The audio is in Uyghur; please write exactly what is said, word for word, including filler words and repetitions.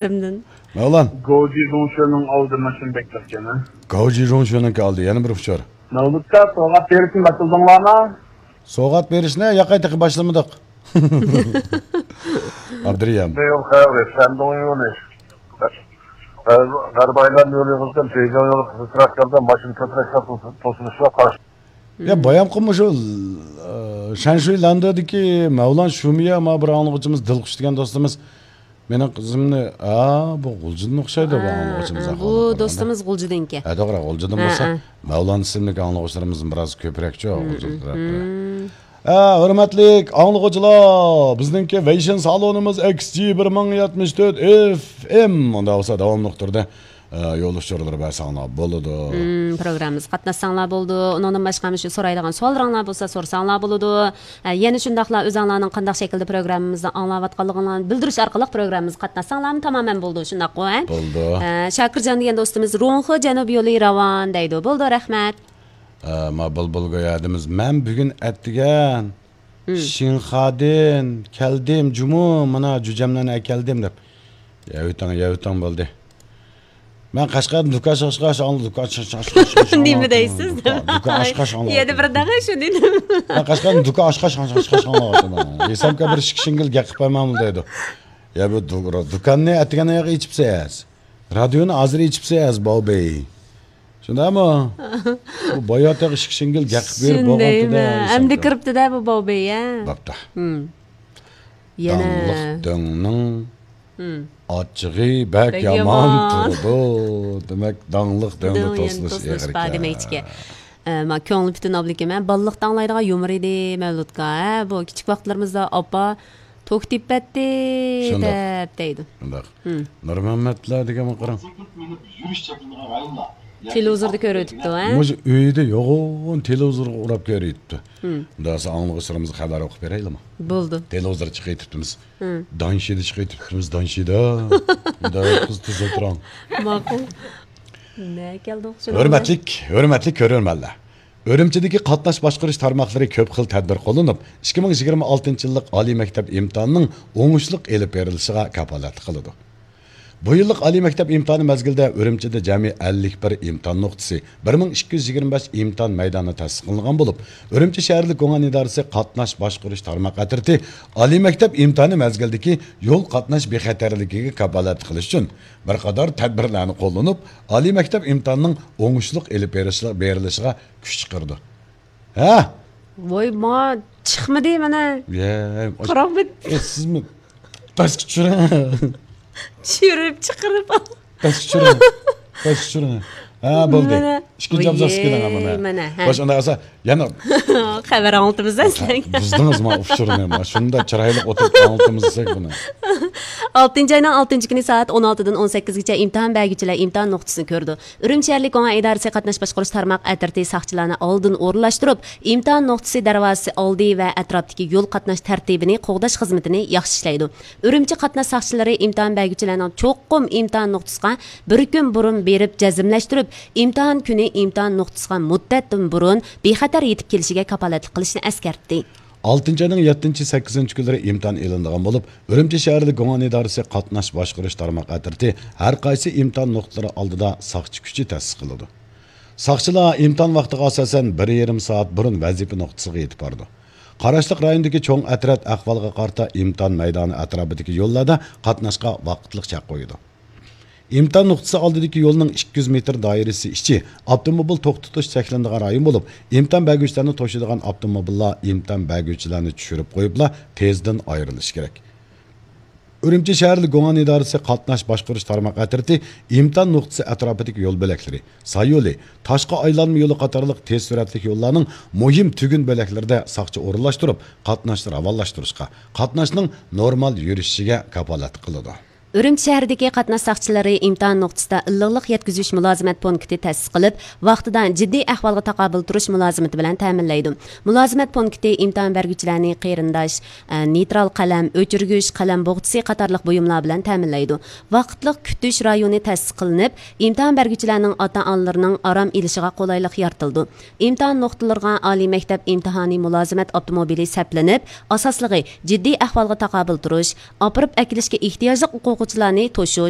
مەۋلان. گوجى زۇڭشۆنىڭ ئالدى ماشىنا بەك تەسكەن، ھە؟ گوجى زۇڭشۆنىڭكى ئالدى. يەنە بىر ئۇچۇر. مەۋلۇتقا سوۋغات بېرىشنى باشلىدىڭلارمۇ؟ سوۋغات بېرىشنى ياقاي تېخى باشلىمىدۇق. ئابدۇرېھىم. بۇ يول خەۋىرى، شەندۇڭ يولى. غەربىي ئايلان يولى يىغىلسام، بېيجىڭ يولى قىزىقراق يولدا ماشىنا كۆپرەك توسۇلۇشقا قارشى. يا، بايامقى مۇشۇ، ئە، شەنشۇي لاندېدىكى مەۋلان شۇمىيە، ما بىر ئاڭلىغۇچىمىز دىلخۇش دېگەن دوستىمىز مېنىڭ قىزىمنى، ھا، بۇ غۇلجىدىن ئوخشايدۇ، بۇ ھا، ئاڭلىغۇچىمىز ھا، ئاقىلىنى بۇ قارىغاندا. دوستىمىز غۇلجىدىنكى. ھە، توغرا، غۇلجىدىن ھە، بولسا، ھە. مەۋلان ئىسىملىك ئاڭلىغۇچىلىرىمىزدىن بىراز كۆپرەكچۇ، مم، غۇلجىدا تۇرۇپ. مم. ھە، ھۆرمەتلىك ئاڭلىغۇچىلار، بىزنىڭكى ۋېيشىن سالونىمىز ئېكس جى بىر مىڭ يەتمىش تۆت ئېف ئېم. ئۇنداق بولسا داۋاملىق تۈردە، ئە، يول ئۇچۇرلىرى بەرسەڭلار بولىدۇ. مم، پروگراممىمىزغا قاتناشساڭلار بولىدۇ. ئۇنىڭدىن باشقا مۇشۇ سورايدىغان سوئاللىرىڭلار بولسا سورىساڭلار بولىدۇ. ئە، يەنە شۇنداقلا ئۆزەڭلارنىڭ قانداق شەكىلدە پروگراممىمىزنى ئاڭلاۋاتقانلىقىڭلارنى بىلدۈرۈش ئارقىلىق پروگراممىمىزغا قاتناشساڭلارمۇ تامامەن بولىدۇ، شۇنداققۇ، ھە؟ بولىدۇ. ئە، شاكىرجان دېگەن دوستىمىز روڭخې جەنۇب يولى راۋان دەيدۇ. بولىدۇ، رەھمەت. ئە، ما بۇلبۇلگۈل ھەدىمىز، مەن بۈگۈن ئەتىگەن مم. شىنخادىن كەلدىم جۇمۇ، مانا جۈجەملەرنى ئەكەلدىم دەپ. يەۋېتىڭ، يەۋېتىڭ بولدى. مەن قەشقەردىن دۇكان ئاچقاچ، دۇكان ئاچقاچ، نېمە دەيسىز؟ دۇكان ئاچقاچ، يەنە بىر دەڭە شۇ دېدىم. مەن قەشقەردىن دۇكان ئاچقاچ، ئاچقاچ، ھېسابكە بىر ئىككى شىڭگىل گەپ قىلىپ قويمامدۇ دەيدۇ. يا بۇ دۇ-، دۇكاننى ئەتىگەن ئېچىپسىز. رادىيونى ھازىر ئېچىپسىز، باۋبېي. شۇنداقمۇ؟ بۇ بايا تېخى ئىككى شىڭگىل گەپ قىلىپ بېرىپ بولغانتىدە. ئەمدى كىرىپتىدە بۇ باۋبېي، يا. بوپتۇ. مم. يەنە. داڭلىق دۆڭنىڭ مم. ئاچچىقى بەك بەك يامان يامان. تۇرىدۇ. دېمەك، داڭلىق دۆڭدە دۆڭ يەنە توسۇلۇش توسۇلۇش ئېغىر بار ئىكەن. دېمەكچىكەن. ئە، ما كۆڭلى پۈتۈن ئابلىكىم، ھە، بالىلىقتا ئاڭلايدىغان يۇمۇر ئىدى مەۋلۇتقا، ھە، بۇ كىچىك ۋاقىتلىرىمىزدا ئاپا توك تېپىپ بەتتى شۇنداق. دەپ دەيدۇ. شۇنداق. ھىم. نۇرمەممەتلەر دېگەنگە قاراڭ. تېلېۋىزوردا كۆرۈۋېتىپتۇ، ھە؟ مۇشۇ ئۆيدە يوغان تېلېۋىزورغا ئۇراپ كۆرۈۋېتىپتۇ. ھىم. مۇنداق دېسە ئاڭلىغۇچىلىرىمىزغا خەۋەر ئوقۇپ بېرەيلىمۇ؟ بولدى. تېلېۋىزور چىقىۋېتىپتىمىز. ھىم. دانشىدا چىقىۋېتىپتىمىز، دانشىدا. مۇنداق قىز تېز ئولتۇرۇڭ. ماقۇل. نە كەلدۇق شۇنىڭ بىلەن؟ ھۆرمەتلىك، ھۆرمەتلىك كۆرۈرمەنلەر. ئۈرۈمچىدىكى قاتناش باشقۇرۇش تارماقلىرى كۆپ خىل تەدبىر قوللىنىپ، ئىككى مىڭ يىگىرمە ئالتىنچى يىللىق ئالىي مەكتەپ ئىمتىھانىنىڭ ئوڭۇشلۇق ئېلىپ بېرىلىشىغا كاپالەتلىك قىلىدۇ. بۇ يىللىق ئالىي مەكتەپ ئىمتىھانى مەزگىلىدە ئۈرۈمچىدە جەمئىي ئەللىك بىر ئىمتىھان نۇقتىسى، بىر مىڭ ئىككى يۈز يىگىرمە بەش ئىمتىھان مەيدانى تەسىس قىلىنغان بولۇپ، ئۈرۈمچى شەھەرلىك گۇڭئەن ئىدارىسى قاتناش باشقۇرۇش تارماق ئەترىتى ئالىي مەكتەپ ئىمتىھانى مەزگىلىدىكى يول قاتناش بىخەتەرلىكىگە كاپالەتلىك قىلىش ئۈچۈن بىر قاتار تەدبىرلەرنى قوللىنىپ، ئالىي مەكتەپ ئىمتىھانىنىڭ ئوڭۇشلۇق ئېلىپ بېرىشلىق-، بېرىلىشىغا كۈچ چىقىرىدۇ. ھە؟ ۋاي، ما چىقمىدى مانا. يە، قاراڭ بىت. ئە، سىزمۇ پەسكە چۈشۈرۈڭ. چۈشۈرۈپ چىقىرىپ. پەسكە چۈشۈرۈڭ. پەسكە چۈشۈرۈڭ. ھە، بولدى. مانا. ئىككىنچى ئابزاسقا كېلىڭ، مانا. مانا، ھە. خوش، ئۇنداق بولسا يەنە خەۋەر ئاڭلىتىمىز سىلەرگە. بۇزدىڭىز ما ئۇچۇرنى، ما شۇنداق چىرايلىق ئوتتۇرىغا ئاڭلىتىمىز دېسەك بۇنى. ئالتىنچى ئاينىڭ ئالتىنچى كۈنى سائەت ئون ئالتىدىن ئون سەككىزگىچە ئىمتىھان بەرگۈچىلەر ئىمتىھان نۇقتىسىنى كۆرىدۇ. ئۈرۈمچى شەھەرلىك گۇڭئەن ئىدارىسى قاتناش باشقۇرۇش تارماق ئەترىتى ساقچىلارنى ئالدىن ئورۇنلاشتۇرۇپ، ئىمتىھان نۇقتىسى دەرۋازىسى ئالدى ۋە ئەتراپتىكى يول قاتناش تەرتىپىنى قوغداش خىزمىتىنى ياخشى ئىشلەيدۇ. ئۈرۈمچى قاتناش ساقچىلىرى ئىمتىھان بەرگۈچىلەرنىڭ چوقۇم ئىمتىھان نۇقتىسىغا بىر كۈن بۇرۇن بېرىپ جەزملەشتۈرۈپ، ئىمتىھان كۈنى ئىمتىھان نۇقتىسىغا مۇددەتتىن بۇرۇن بىخەتەر يېتىپ كېلىشىگە كاپالەتلىك قىلىشنى ئەسكەرتتى. ئالتىنچى ئاينىڭ يەتتىنچى، سەككىزىنچى كۈنلىرى ئىمتىھان ئېلىنىدىغان بولۇپ، ئۈرۈمچى شەھەرلىك گۇڭئەن ئىدارىسى قاتناش باشقۇرۇش تارماق ئەترىتى ھەر قايسى ئىمتىھان نۇقتىلىرى ئالدىدا ساقچى كۈچى تەسىس قىلىدۇ. ساقچىلار ئىمتىھان ۋاقتىغا ئاساسەن بىر يېرىم سائەت بۇرۇن ۋەزىپە نۇقتىسىغا يېتىپ بارىدۇ. قاراشلىق رايوندىكى چوڭ ئەترەت ئەھۋالغا قارىتا ئىمتىھان مەيدانى ئەتراپىدىكى يوللاردا قاتناشقا ۋاقىتلىق چەك قويىدۇ. ئىمتىھان نۇقتىسى ئالدىدىكى يولنىڭ ئىككى يۈز مېتىر دائىرىسى ئىچى ئاپتوموبىل توختىتىش چەكلىنىدىغان رايون بولۇپ، ئىمتىھان بەرگۈچىلەرنى توشۇيدىغان ئاپتوموبىللار ئىمتىھان بەرگۈچىلەرنى چۈشۈرۈپ قويۇپلا تېزدىن ئايرىلىشى كېرەك. ئۈرۈمچى شەھەرلىك گۇڭئەن ئىدارىسى قاتناش باشقۇرۇش تارماق ئەترىتى ئىمتىھان نۇقتىسى ئەتراپىدىكى يول بۆلەكلىرى، ساي يولى، تاشقى ئايلانما يولى قاتارلىق تېز سۈرئەتلىك يوللارنىڭ مۇھىم تۈگۈن بۆلەكلىرىدە ساقچى ئورۇنلاشتۇرۇپ، قاتناشنى راۋانلاشتۇرۇشقا، قاتناشنىڭ نورمال يۈرۈشۈشىگە كاپالەتلىك قىلىدۇ. ئۈرۈمچى شەھىرىدىكى قاتناش ساقچىلىرى ئىمتىھان نۇقتىسىدا ئىللىقلىق يەتكۈزۈش مۇلازىمەت پونكىتى تەسىس قىلىپ، ۋاقتىدا جىددىي ئەھۋالغا تاقابىل تۇرۇش مۇلازىمىتى بىلەن تەمىنلەيدۇ. مۇلازىمەت پونكىتى ئىمتىھان بەرگۈچىلەرنى قېرىنداش، ئە، نېيترال قەلەم، ئۆچۈرگۈچ، قەلەم بوغچىسى قاتارلىق بۇيۇملار بىلەن تەمىنلەيدۇ. ۋاقىتلىق كۈتۈش رايونى تەسىس قىلىنىپ، ئىمتىھان بەرگۈچىلەرنىڭ ئاتا-ئانىلىرىنىڭ ئارام ئېلىشىغا قولايلىق يارىتىلىدۇ. ئىمتىھان نۇقتىلىرىغا ئالىي مەكتەپ ئىمتىھانى مۇلازىمەت ئاپتوموبىلى سەپلىنىپ، ئاساسلىقى جىددىي ئەھۋالغا تاقابىل تۇرۇش، ئاپىرىپ ئەكېلىشكە ئېھتىياجلىق ئوقۇغۇ-، ئوقۇغۇچىلارنى توشۇش،